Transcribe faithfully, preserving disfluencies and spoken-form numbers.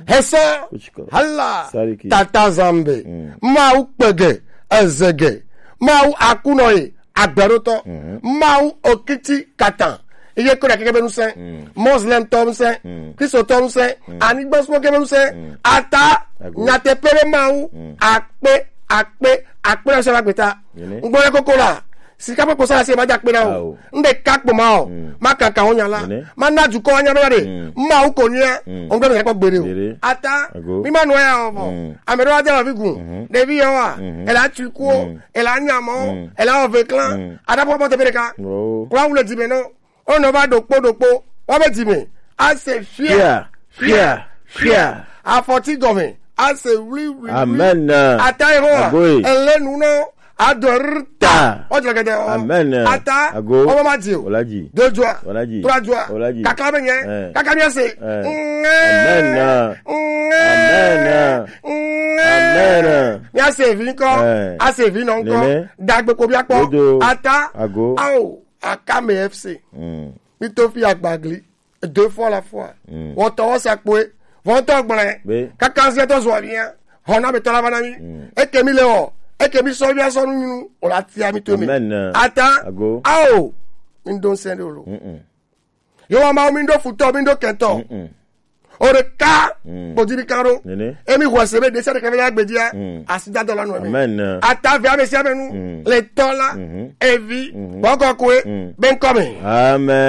Hesa. Kuchiko. Hala. Sariki. Tata Zambe. Mm. Mawu kpege. Ezege. Mawu akunɔ ye. Agbeɖotɔ. Mm. Mawu okiti katan. Iye ko ɖe keke be ŋusẽ. Mm. Muslim tɔ ŋusẽ. Mm. Kristo tɔ ŋusẽ. Mm. Anigba sumɔ ke be ŋusẽ. Mm. Ata. Ago. Nyateƒe be Mawu. Mm. Akpe, akpe, akpe na se ba gbeta. Nene. Ŋgbɔ le koko la. Sika ƒe kposa se ma da kpe na o. Ao. Ŋɖe ka kpo ma o. Mm. Ma kaka wo nya la. Nene. Ma na dukɔ wa nya be ya de. Mm. Mawu ko nya. Mm. Ŋgbɔ me kɔ gbe de o. Dede. Ata. Ago. Mi ma nɔ ya o. Mm. Ame ɖewo ade avi gun. Mhm. Ɖevi yewoa. Mhm. Ele atu kuwo. Mm. Ele anya mɔ. Mm. Ele awɔ ve klan. Mm. Ada pɔ pɔ teƒe ɖeka. Oh. Kura wule di me nɔ. Ono va ɖokpo ɖokpo. Wa be di me. Ase fia. Fia. Fia. Fia. Afɔti gɔme. Ase wli wli. Wli. Amen. Ata yehowa. Agoe. Ele nu nɔ. Adorta. Ta. Ɔjɔ gɛdɛ ɔ. Amen. Ata. Ago. Ɔmɔ ma di o. Olaji. Deux joie. Olaji. Trois joie. Olaji. Kaka be nyɛ. Eh. Kaka mi ase. Eh. Ŋɛ. Amen. Ŋɛ. Amen. Ŋɛ. Amen. Mi ase vi ŋkɔ. Eh. Ase vi nɔ ŋkɔ. Nene. Dagbe ko bi akpɔ. Dodo. Ata. Ago. Ao. Akame F C. Mm. Mi to fi agbagli. Deux fois la fois. Mm. Wɔtɔ wɔ sakpoe. Wɔtɔ gblɛ. Be. Kaka ŋsɛ tɔ zɔ aviya. Hɔn na be tɔ la va na mi. Mm. Eke mi le wɔ. Eke mi sɔ via sɔ nu nyunu. O la tia mi to mi. Amen. Ata. Ago. Ao. Mi do ŋsɛ de o lo. Mm-mm. Yehowa Mawu, mi ɖo futɔ, mi ɖo kɛntɔ. Mm-mm. O ɖeka. Mm. Kpodi mi kan ɖo. Nene. Emi xɔ se be ɖe sia ɖe ka be la gbedia. Mm. Asi da dɔ la nu eme. Amen. Ata ve ame sia ame nu. Mm. Le tɔ la. Mhm. Evi. Mhm. Bɔkɔ koe. Mm. Be ŋkɔ me. Amen.